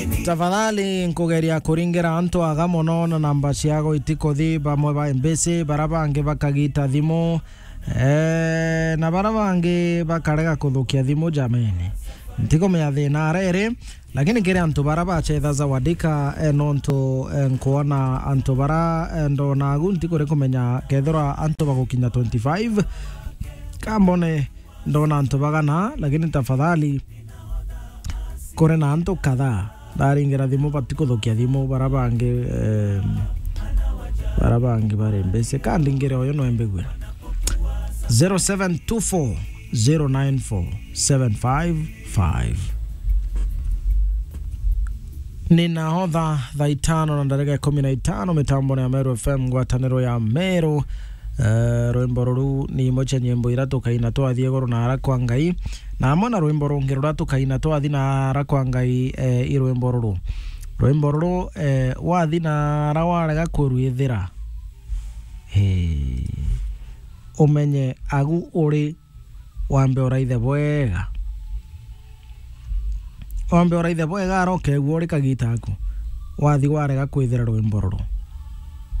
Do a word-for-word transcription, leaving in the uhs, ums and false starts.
Tafadhali nkugeria kuringira antu aga mono na namba ciago itikuthi, bamwe ba Embese, bara bangi bakagita thimu, eh, na bara bangi bakarega kuthukia thimu, jameni. Ntikumenya thina arere, lakini kiri antu bara bachetha Zawadika, eh, nontu, eh, nkwona antu bara, eh, ndona agu ntikuri kumenya kethirwa antu bagukinya twenty-five. Kambone ndona antu bagana, lakini tafadhali, kuri na antu kadhaa ndaringira thimu, batikuthukia thimu, bara bangi, eh, bara bangi bari mbese. Ka ndingire uyu no embigue. zero seven two four zero nine four seven five five. Ni naho thaa, thaa itano na ndarika ikumi na itano, mitambone ya Meru F M, ngwataniro ya Meru. Eh, rwimbo ruru ni imwe cia nyimbo iria tukaina twathi iguru na ara kwa Ngai, na amwe na rwimbo rungi ruria tukaina twathi na ara kwa Ngai, eh, i rwimbo ruru. Rwimbo ruru, eh, wathi na ara warega kurwithira, eh, umenye agu uri, wambe uraithe bwega. Wambe uraithe bwega, ara ukegua uri kagita aku, wathi warega kwithira rwimbo ruru.